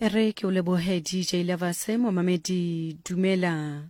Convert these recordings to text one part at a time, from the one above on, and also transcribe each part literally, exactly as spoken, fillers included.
Re ke o lebohe D J Lavase. Momamedi, dumela.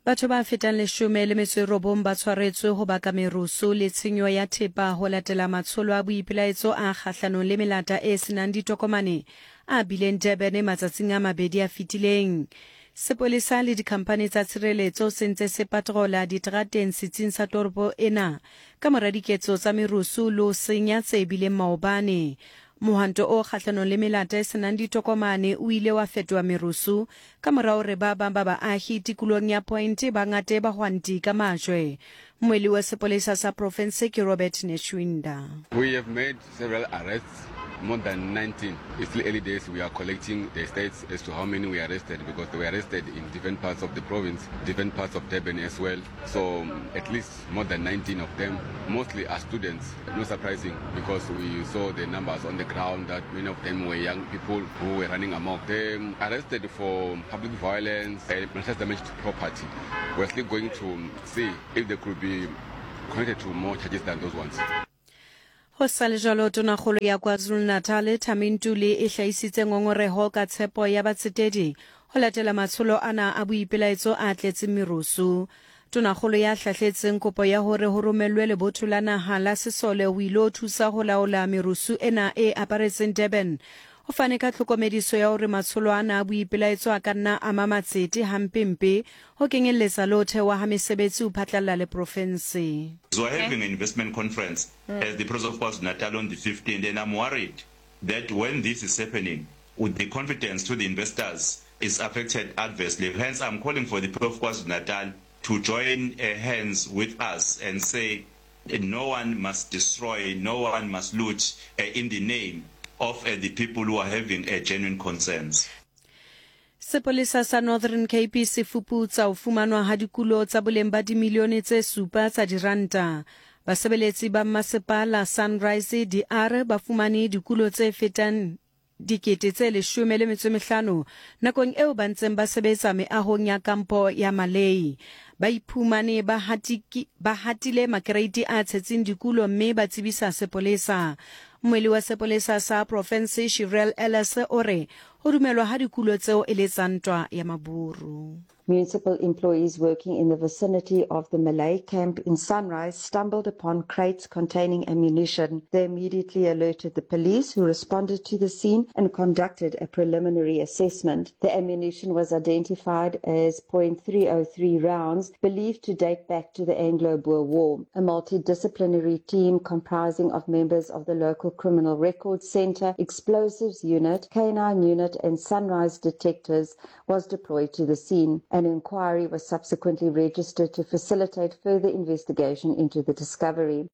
Batho ba fetang leshome le metso e robong ba tshwaretswe ho baka merusu le tshenyo ya thepa ho latela matsholo a boipelaetso a kgahlanong le melata e senang ditokomane a bileng Durban matsatsing a mabedi a fetileng. Sepolesa le dikhamphani tsa tshireletso se ntse se patrola diterateng setsing sa toropo ena ka mora diketso tsa merusu le ho senya tse bileng maobane. Mohwanto o kgahlanong le melata e senang ditokomane o ile wa fetoha merusu ka mora hore ba bang ba baahi tikolong ya Point ba ngate bahwanti ka majwe. Mmuelli wa sepolesa sa profense ke Robert Netshuinda. We have made several arrests, more than nineteen. It's still early days. We are collecting the stats as to how many we arrested because they were arrested in different parts of the province, different parts of Durban as well. So um, at least more than nineteen of them, mostly are students. No surprising, because we saw the numbers on the ground that many of them were young people who were running amok. They um, arrested for public violence and malicious damage to property. We're still going to see if they could be connected to more charges than those ones. Ho sa le jwalo, tonakgolo ya KwaZulu-Natal Thami Ntuli e hlahisitse ngongoreho ka tshepo ya batsetedi ho latela matsholo ana a boipelaetso a tletseng merusu. Tonakgolo ya hlahletseng kopo ya hore ho romellwe lebotho la naha la sesole ho ilo thusa ho laola merusu ena e aparetseng Durban. O fane ka tlhokomediso ya hore matsholo ana a boipelaetso a ka nna ama matsete hampempe ho kenyelletsa le ho thewa ha mesebetsi ho phatlalla le profense. So we're having an investment conference as the President of KwaZulu-Natal on the fifteenth, and I'm worried that when this is happening, with the confidence to the investors is affected adversely. Hence, I'm calling for the people of KwaZulu-Natal to join uh, hands with us and say uh, no one must destroy, no one must loot uh, in the name of uh, the people who are having uh, genuine concerns. Sepolesa sa Northern Cape se fuputsa ho fumanwa ha dikulo tsa boleng ba dimilione tse supa tsa diranta. Basebeletsi ba masepala Sunrise D R ba fumane dikulo tse fetang dikete tse leshome le metso e mehlano nakong eo ba ntseng ba sebetsa meahong ya kampo ya Malay. Ba iphumane ba hatiki ba hatile makereiti a tshetseng dikulo mme ba tsebisa sepolesa. Mmuelli wa sepolesa sa profense Shirel Ellis o re ho dumelwa ha dikulo tseo e le tsa ntwa ya maburu. Municipal employees working in the vicinity of the Malay camp in Sunrise stumbled upon crates containing ammunition. They immediately alerted the police, who responded to the scene and conducted a preliminary assessment. The ammunition was identified as point three oh three rounds, believed to date back to the Anglo-Boer War. A multidisciplinary team comprising of members of the local Criminal Records Centre, Explosives Unit, Canine Unit and Sunrise detectives was deployed to the scene. An inquiry was subsequently registered to facilitate further investigation into the discovery.